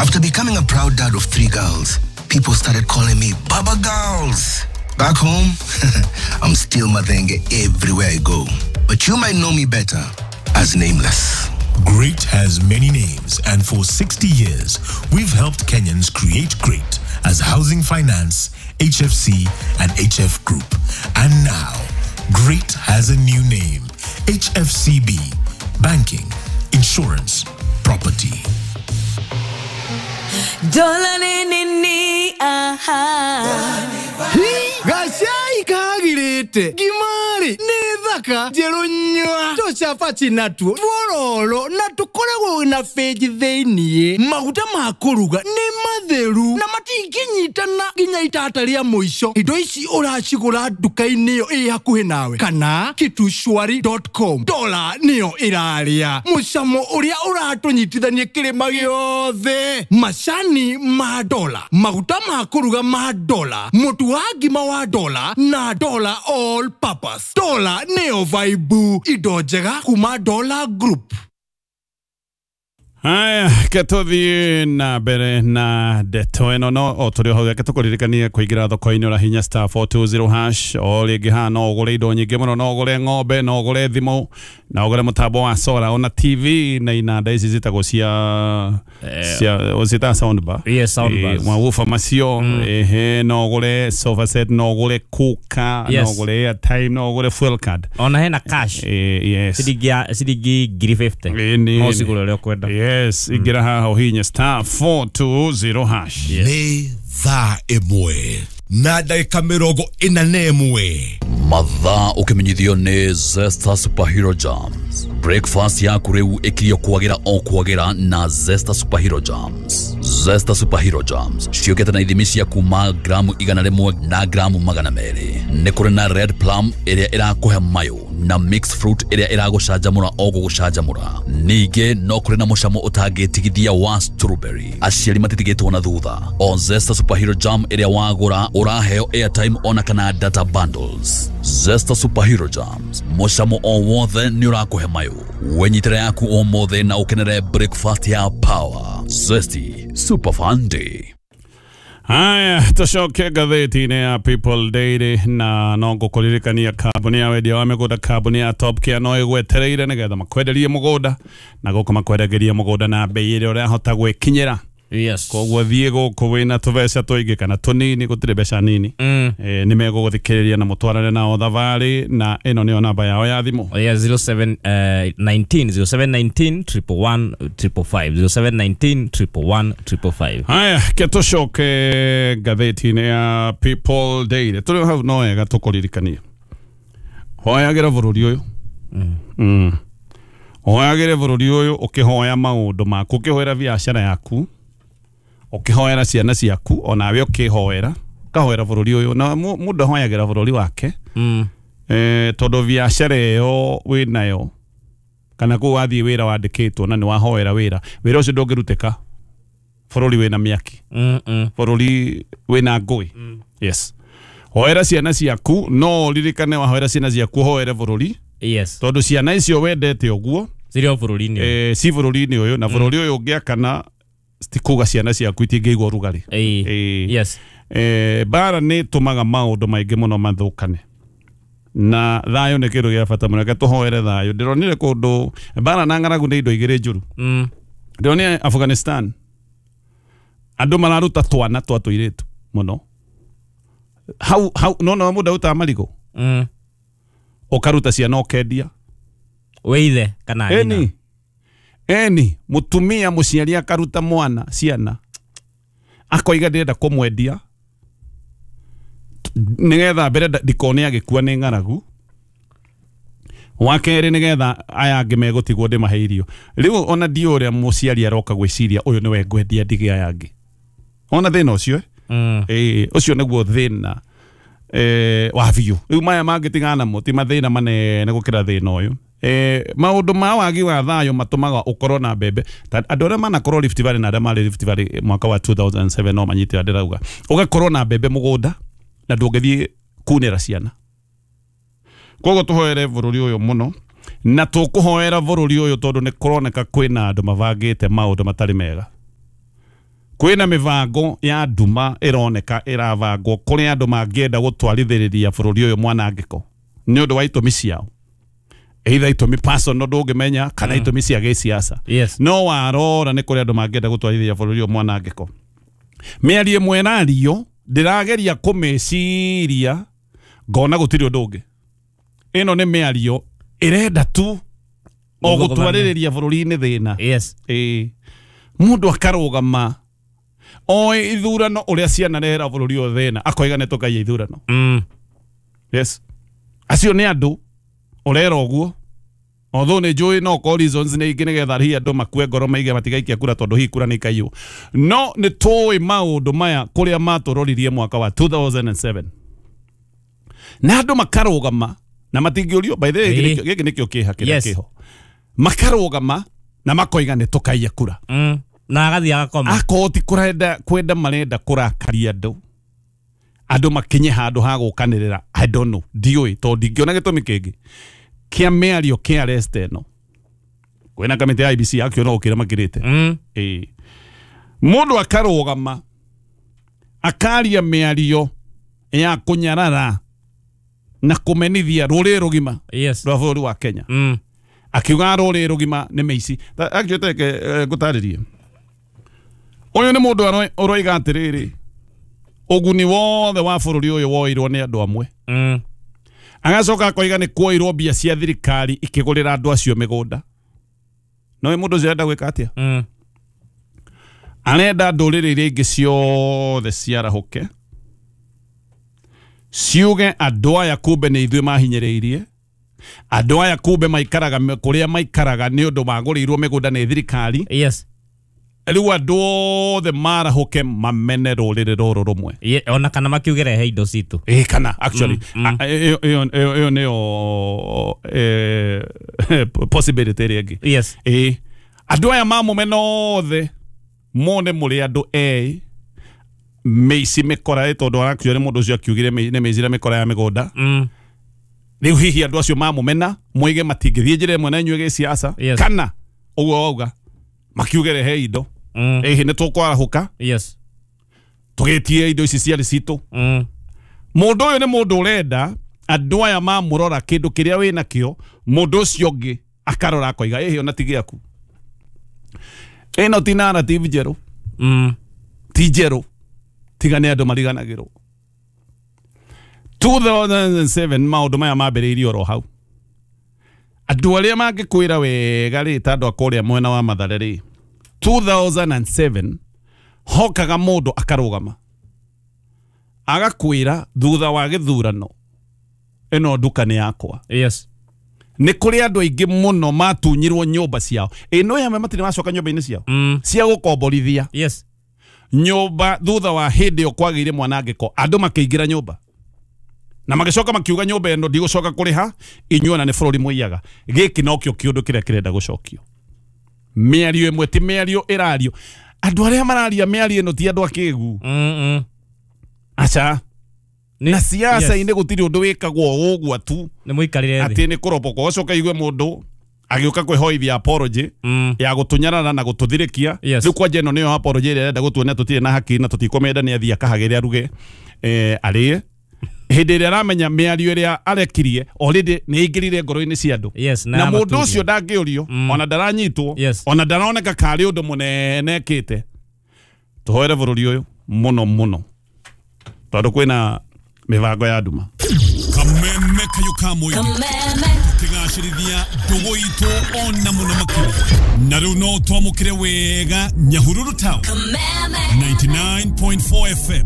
After becoming a proud dad of 3 girls, people started calling me Baba Girls. Back home, I'm still Mathenge everywhere I go. But you might know me better as Nameless. Great has many names, and for 60 years, we've helped Kenyans create great as Housing Finance, HFC, and HF Group. And now, great has a new name, HFCB, Banking, Insurance, Property. Gacai kagirite ngimari nĩ thaka njerũ nyua tũcabaci natuo twororo na tũkoragwo na benji thĩiniĩ. Maguta ma kũruga nĩ matheru na matingĩnyitana nginya itata rĩa mũico. Indo ici ũracigũra nduka-inĩ ĩyo ĩ hakuhĩ nawe kana kitushwari.com. Dola nĩyo ĩrarĩa mũcamo ũrĩa ũratũnyitithania kĩrĩma gĩothe. Macani ma dola, maguta ma kũruga ma dola, mũtu wa ngima wa dola na dola all purpose. Dola nĩyo vibe, indo njega kuma Dola Group. Haya, ketũthiĩ na mbere na ndeto ĩno no o tũrĩ o hau, reke tũkũririkanie kũingĩra thoko-inĩ ũrahinya star 420 hash. O rĩngĩ haha no ũgũre indo nyingĩ mũno, no ũgũre ng'ombe, no ũgũre thimũ, no ũgũre mũtambo wa solar ona TV na inanda ici citagwo cia ciĩtaga sound bar. Yes, sound bars. Mawoofer macio, ehe, no ũgũre sofa set, no ũgũre cooker, no ũgũre airtime, no ũgũre fuel card. Ona hena cash. Yes. Ciringi 1,050. No cigũre ũrĩa ũkwenda. Yes, ingĩra haha ũhinye star 420 hash. Nĩ thaa 1 na ndagĩka 41. Mathaa ũkĩmenyithio nĩ Zesta Superhero Jams. Breakfast yaku rĩu ĩkirio kwagĩra o kwagĩra na Zesta Superhero Jams. Zesta Superhero Jams ciũkĩte na ithimi cia kuma gramu 100 na gramu 200. Nĩ kũrĩ na red plum ĩrĩa ĩrakũhe mayo na mixed fruit ĩrĩa ĩragũcanjamũra o gũgũcanjamũra. Ningĩ no kũrĩ na mũcamo ũtangĩtigithia wa strawberry. Aciari matitigĩtwo na thutha. O Zesta Superhero Jam ĩrĩa wagũra ũraheo airtime ona kana data bundles. Zesta Superhero Jams, mũcamo o wothe nĩ ũrakũhe mayo. Wenyitĩra yaku ũmũthĩ na ũkenere breakfast ya power. Zesty Super Fun Day. Haya, tũcoke ngathĩti-inĩ ya People Daily na no ngũkũririkania kambuni ya wendia wa mĩgũnda, kambuni ya Top Care no ĩgwetereire nĩgetha makwenderie mũgũnda na gũkũ makwendagĩria mũgũnda na bei ĩrĩa ũrahota gwĩkinyĩra. Yes. Koguo thiĩ gũkũ wĩna tũbeca tũingĩ kana tũnini, gũtirĩ mbeca nini. Nĩ megũgũthikĩrĩria na mũtwarane nao thabarĩ, na ĩno nĩyo namba yao ya thimũ. Yeah, 0719 0719 111 555 0719 111 555. Haya, ke tũcoke ngathĩti-inĩ ya People Daily. Tũrĩ hau no wega tũkũririkanie. Hoyagĩra bũrũri ũyũ. Hoyagĩre bũrũri ũyũ ũkĩhoya maũndũ maku, ũkĩhoera biacara yaku, ũkĩhoera ciana ciaku, onawe ũkĩhoera, ũkahoera bũrũri ũyũ. Na mũndũ ahoyagĩra bũrũri wake tondũ biacara ĩyo wĩnayo kana kũu wathiĩ wĩra wandĩkĩtwo na nĩ wahoera wĩra, wĩra ũcio ndũngĩrutĩka bũrũri wĩna mĩaki, bũrũri wĩna ngũĩ. Yes. Hoera ciana ciaku, no ũririkane wahoera ciana ciaku ũhoere bũrũri. Yes. Tondũ ciana icio wendete ũguo cirĩ o bũrũri-inĩ. Ci bũrũri-inĩ ũyũ, na bũrũri ũyũ ũngĩakana tikuga ciana ciaku itingĩigua ũrugarĩ. Yes. Mbara nĩ ĩtũmaga maũndũ maingĩ mũno mathũkane, na thayũ nĩ kĩndũ gĩa bata mũno. Reke tũhoere thayũ. Ndĩronire kũndũ mbara na ng'aragu nĩ indo igĩrĩ njũru. Ndĩronire Afghanistan andũ mararuta twana twa tũirĩtu mũno. Hau hau no no mũndũ arutaga marigũ, ũkaruta ciana ũkendia. Wĩ kana nyina. Eni mutumia muciari akaruta mwana ciana akoiga ndĩrenda kũmwendia nĩgetha mbere ndikone agĩkua nĩ ng'aragu, wa kerĩ nĩgetha aya angĩ megũtigwo ndĩmahe irio. Rĩu ona ndiũ ũrĩa mũciari aroka gwĩciria ũyũ nĩwe ngwendia ndige aya angĩ. Ona thĩna ũcio ũcio nĩguo thĩna wa biũ. Rĩu maya mangĩ tigana namo ti mathĩna manene gũkĩra thĩna ũyũ. Maũndũ ma wagi wa thayũ matũmaga ũkorwo na mbembe. Andũ arĩa manakorwo Rift Valley na arĩa marĩ Rift Valley mwaka wa 2007 no manyite ũrĩa ndĩrauga. Ũgakorwo na mbembe mũgũnda na ndũngĩthiĩ kunĩra ciana. Koguo tũhoere bũrũri ũyũ mũno, na tũkũhoera bũrũri ũyũ tondũ nĩ kũroneka kwĩna andũ mabangĩte maũndũ matarĩ mega. Kwĩna mĩbango ya nduma ĩroneka ĩrabangwo kũrĩa andũ mangĩenda gũtwarithĩrĩria bũrũri ũyũ mwanangĩko nĩ ũndũ wa itũmi ciao, either itũmi personal ndũngĩmenya kana itũmi cia gĩsiasa. Yes. No warora nĩ kũrĩ andũ mangĩenda gũtwarithĩrĩria bũrũri ũyũ mwanangĩko. Mĩario ĩmwe ĩrario ndĩrageria kũmĩciria ngona gũtirĩ ũndũ ũngĩ. Ĩno nĩ mĩario ĩrenda tu o gũtwarĩrĩria bũrũri-inĩ thĩna. Yes. Ĩĩ. Mũndũ akarũgama oĩ ithurano ũrĩa cianarehera bũrũri ũyũ thĩna akoiga nĩ tũkaiya ithurano. Yes. Acio nĩ andũ ũrera ũguo. Although nĩ njũĩ no ko reasons nĩ ingĩ nĩgetha hihi andũ makue ngoro maige matigaikia kura tondũ hihi kura nĩ ikaiywo. No nĩ tũĩ maũndũ maya kũrĩa matũroririe mwaka wa 2007. Na andũ makarũgama na matingĩũrio, by the way gĩkĩ nĩkĩo kĩeha kĩrĩa kĩho. Makarũgama na makoiga nĩ tũkaiya kura. Na agathiĩ agakoma. Akorwo ti kũrenda kwenda marenda kũrakaria andũ. Andũ makinye handũ ha gũkanĩrĩra. I don't know. Ndiũĩ tondũ ndingĩona gĩtũmi kĩngĩ kĩa mĩario kĩa arrest ĩno. Kwĩna kamĩtĩ ya IEBC akĩona gũkĩra makĩrĩte. Ĩĩ. Mũndũ akarũgama akaria mĩario ya kũnyarara na kũmenithia rũrĩrĩ rũgima. Yes. Rwa bũrũri wa Kenya. Akiuga rũrĩrĩ rũgima nĩ mĩici. Actually teke ngũtarĩrie. Ũyũ nĩ mũndũ ũroiga atĩrĩrĩ, ũguni wothe wa bũrũri ũyũ woirwo nĩ andũ amwe. Agacoka akoiga nĩ kuoirwo mbia cia thirikari ikĩgũrĩra andũ acio mĩgũnda. No mũndũ ũcio arenda gwĩka atĩa? Arenda ndũrĩrĩ iria ingĩ ciothe ciarahũke ciuge andũ aya kumbe nĩ ithuĩ mahinyĩrĩirie, andũ aya kumbe maikaraga kũrĩa maikaraga nĩ ũndũ magũrĩirwo mĩgũnda nĩ thirikari. Yes. Rĩu andũ othe marahũke mamene rũrĩrĩ rũrũ rũmwe. Ona kana makiuge rehe indo citũ. Ĩĩ kana actually ĩyo nĩyo possibility ĩrĩa ĩngĩ. Yes. Ĩĩ. Andũ aya mamũmena othe mone mũrĩ andũ ĩ mĩici mĩkora tondũ arakiuga nĩ mũndũ ũcio akiugire nĩ mĩici na mĩkora ya mĩgũnda. Rĩu hihi andũ acio mamũmena moige matingĩthiĩ njĩra ĩmwe na inyuĩ gĩsiasa. Kana ũguo wauga makiuge rehe indo. Ĩhĩ nĩ tũkwarahũka. Yes. Tũgĩtie indo ici ciarĩ citũ. Mũndũ ũyũ nĩ mũndũ ũrenda andũ aya mamũrora kĩndũ kĩrĩa wĩnakĩo, mũndũ ũcio ũngĩ akarora akoiga ĩhĩ ona ti gĩaku. Ĩno ti narrative njerũ. Ti njerũ. Tiga nĩ andũ mariganagĩrwo. 2007 maũndũ maya mambĩrĩirie oro hau. Andũ arĩa mangĩkwĩra wega rĩ ta andũ a kũrĩa mwena wa Mathare rĩ, 2007 hokaga mũndũ akarũgama agakwĩra thutha wa gĩthurano ĩno nduka nĩ yakwa. Yes. Nĩ kũrĩ andũ aingĩ mũno matunyirwo nyũmba ciao. Ĩno yamwe matirĩ macoka nyũmba-inĩ ciao. Cia gũkomborithia. Yes. Nyũmba thutha wa hĩndĩ ĩyo kwagĩire mwanangĩko andũ makĩingĩra nyũmba na magĩcoka makiuga nyũmba ĩno ndigũcoka kũrĩha inyuĩ ona nĩ bũrũri mũiyaga. Gĩkĩ nokĩo kĩũndũ kĩrĩa kĩrenda gũcokio. Mĩario ĩmwe ti mĩario ĩrario. Andũ arĩa mararia mĩario ĩno ti andũ akĩgu. Aca. Na siasa-inĩ gũtirĩ ũndũ wĩkagwo ũguo tu. Nĩ mũikarĩre thĩ. Atĩ nĩ kũrombokwo ũcoke igue mũndũ agĩũka kwĩhoithia apology ya gũtũnyarara na gũtũthirĩkia. Rĩu kwanja ĩno nĩyo apology ĩrĩa ĩrenda gũtuonia tũtirĩ na haki na tũtikũmĩenda nĩ athiĩ akahagĩre aruge arĩe. Hĩndĩ ĩrĩa aramenya mĩario ĩrĩa arekirie already nĩ ĩingĩrire ngoro-inĩ cia andũ. Yes, na mũndũ ũcio ndangĩũrio ona ndaranyitwo ona ndaroneka karĩ ũndũ mũnene ekĩte. Tũhoere bũrũri ũyũ mũno mũno tondũ kwĩna mĩbango ya nduma. Kameme kayo ka mũingĩ tũkĩgacĩrithia ndũgũ itũ ona mũno makĩria. Na rĩu no twamũkĩre wega Nyahururu Town 99.4 FM.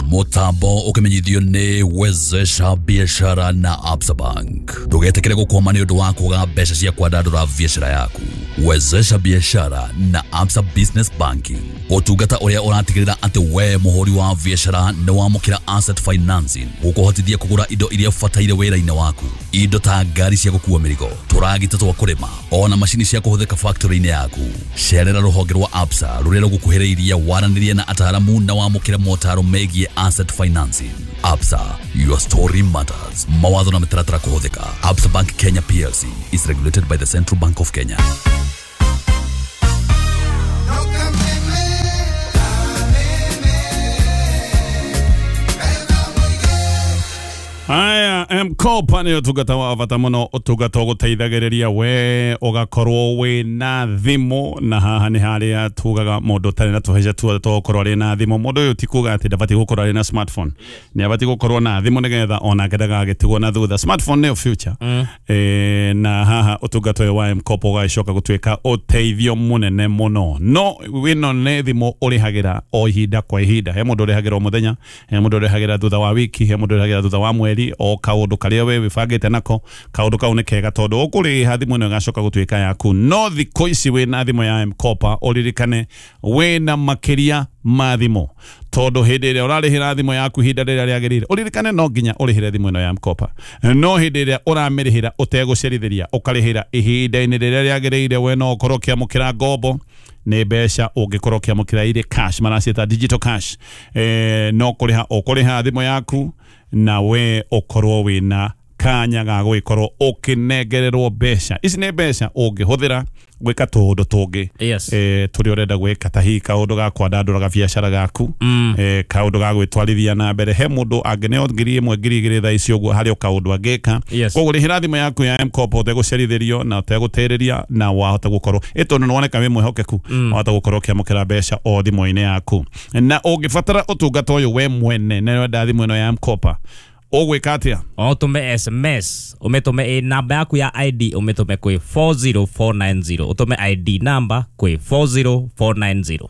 Mutambo ukimenyithio nĩ Wezesha Biashara na Absa Bank. Ndũgetĩkĩre gũkwama nĩ ũndũ wa kwaga mbeca cia kwandandũra biashara yaku. Wezesha Biashara na Absa Business Banking, ũtungata ũrĩa ũratigĩrĩra atĩ we mũhũri wa biashara nĩ wamũkĩra asset financing gũkũhotithia kũgũra indo iria ũbataire wĩra-inĩ waku, indo ta ngari cia gũkua mĩrigo, tũragita twa kũrĩma, ona macini cia kũhũthĩka factory-inĩ yaku. Cerera rũhonge rwa Absa rũrĩa rũgũkuhĩrĩirie, waranĩrie na ataaramu na wamũkĩre motaro megiĩ asset financing. Absa, your story matters. Mawatho na mĩtaratara kũhũthĩka. Absa Bank Kenya PLC is regulated by the Central Bank of Kenya. Aya, M-Kopa nĩ ũtungata wa bata mũno, ũtungata ũgũteithagĩrĩria we ũgakorwo wĩna thimũ, na haha nĩ harĩa tugaga mũndũ ũtarĩ na tũbeca tuothe twa gũkorwo arĩ na thimũ. Mũndũ ũyũ ti kuga atĩ ndabatiĩ gũkorwo arĩ na smartphone, nĩ abatiĩ gũkorwo na thimũ nĩgetha onake ndagagĩtigwo na thutha. Smartphone nĩyo future. Na haha ũtungata ũyũ wa M-Kopa ũgagĩcoka gũtuĩka ũteithio mũnene mũno. No ĩno nĩ thimũ ũrĩhagĩra o ihinda kwa ihinda. He mũndũ ũrĩhagĩra o mũthenya, he mũndũ ũrĩhagĩra thutha wa wiki, he mũndũ ũrĩhagĩra thutha wa mweri, o kaũndũ karĩa we wĩbangĩte nako. Kaũndũ kau nĩ kega tondũ ũkũrĩha thimũ ĩno ĩgacoka gũtuĩka yaku. No thikũ ici wĩna thimũ ya M-Kopa ũririkane wĩna makĩria ma thimũ, tondũ hĩndĩ ĩrĩa ũrarĩhĩra thimũ yaku ihinda rĩrĩa rĩagĩrĩire, ũririkane no nginya ũrĩhĩre thimũ ĩno ya M-Kopa. No hĩndĩ ĩrĩa ũramĩrĩhĩra ũtegũcerithĩria, ũkarĩhĩra ihinda-inĩ rĩrĩa rĩagĩrĩire, we no ũkorwo ũkĩamũkĩra ngombo nĩ mbeca ũngĩkorwo ũkĩamũkĩra irĩ cash, maraciĩta digital cash. No kũrĩha ũkũrĩha thimũ yaku na we ũkorwo wĩna kanya ga gũgĩkorwo ũkĩnengererwo mbeca. Ici nĩ mbeca ũngĩhũthĩra gwĩka tũũndũ tũngĩ tũrĩa ũrenda gwĩka, ta hihi kaũndũ ga kwandandũra gabiacara gaku, kaũndũ ga gwĩtwarithia na mbere. He mũndũ angĩneo 1,000 2,000 thaa ici ũguo harĩ o kaũndũ angĩka. Koguo rĩhĩra thimũ yaku ya M-Kopa ũtegũcerithĩrio na ũtegũtĩrĩria, na wahota gũkorwo tondũ nĩwoneka wĩ mwĩhokeku, wahota gũkorwo ũkĩamũkĩra mbeca o thimũ-inĩ yaku. Na ũngĩbatara ũtungata ũyũ we mwene na nĩwenda thimũ ĩno ya M-Kopa, ũgwĩka atĩa? Ũtũme SMS, ũmĩtũme namba yaku ya ID, ũmĩtũme kwĩ 40490, ũtũme ID namba kwĩ 40490.